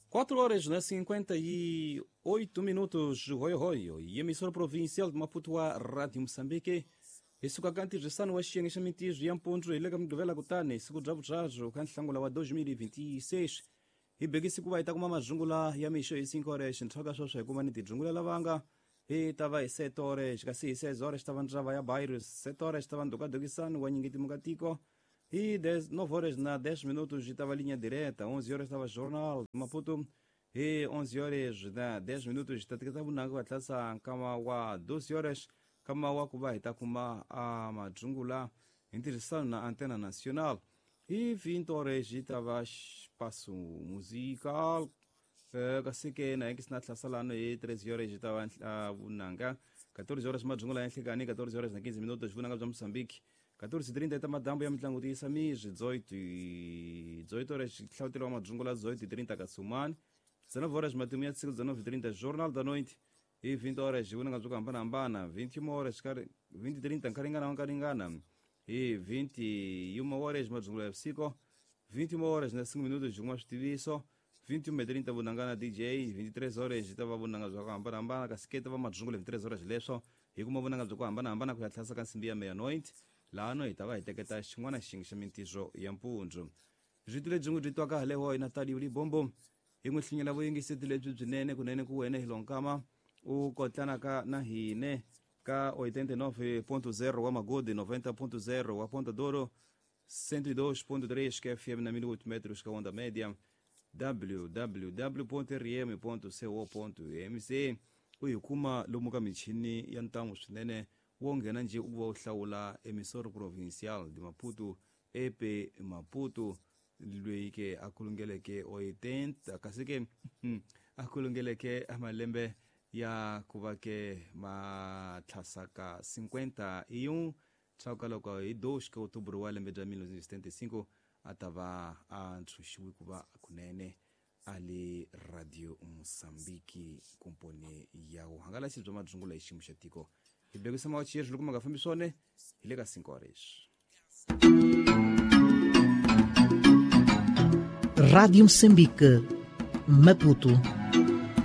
4 horas na 58 minutos, hoyo hoyo, e emissora provincial de Maputo a Rádio Moçambique. Isuka kanti rizano wa xiyenge xa mintirho ya mpundzu hi le ka Mugqivela kutani siku bya vunharhu ka Nhlangula wa 2026 hi bekisi ku va hi ta kuma mazungula ya mixo hi 5 horas ntlhaka sweswo hi kuma ni tidzungula lavanga hi ta va hi 7 horas kasi hi 6 horas ta va ndzava ya Bairro 7 horas ta va ndhukadhukisani wa nyingeti mukatiko hi 9 horas na 10 minutos hi ta va linha direta 11 horas ta va jornal Maputo hi 11 horas na 10 minutos hi ta teketa vunanga va tlasa nkama wa 12 horas kama wa ku va hi ta kuma a madzungula hi ntirhisano na Antena Nacional hi 20 horas hi ta va espaço musical kasi ke na hi na hlasalano hi 13 horas hi ta va vunanga 14 horas madzungula ya nhlikani 14 horas na 15 minutos vunanga bya Moçambique 14:30 ta madambu ya mitlangu tiyisa mizwi 18 horas hlawutelo wa madzungula 18:30 kasumani 19 horas matimu ya siku 19:30 Jornal da Noite e 20 horas vunanga byo hambanahambana 21 horas 20:30 nkaringana nkaringana e 21 horas madzungula ya vusiku 21 horas na 5 minutos juma switiviso 21:30 vunanga na DJ 23 horas ta va vunanga bya ku hambanahambana kasi ke ta va madzungula 23 horas leswo hi kuma vunanga bya ku hambanahambana ku ya tlhasa ka nsimbi ya meia-noite laha hi ta va hi teketa xin'wana xiyenge xa mintirho ya mpundzu rito lebyi n'wi byi twaka haleho hi Natalio Libombo hi n'wi hlinyela vuyingiseti lebyi byinene kunene ku wena hi lonkama u kotlanaka na hine ka 89.0 wa Magodi 90.0 wa Ponta Douro 102.3 ka FM na 1008 metros ka onda média www.rm.co.mz u hi kuma lomu ka michini ya ntamu swinene wo nghena nje u va u hlawula emissora provincial de Maputo EP Maputo loyi ke a kulungeleke 80 kasi ke a kulungeleke malembe ya ku va ke matlhasaka 51 tsaka loko hi 2 ka Outubro wa lembe bya 1975 a ta va a ntshunxiwe ku va kunene a le Radio Moçambique komponi ya vuhangalasi bya madzungula hi xiyimo xa tiko hi bekisa mawachiyeri loko ma nga fambi swona hi le ka 5 horas. Rádio Moçambique, Maputo.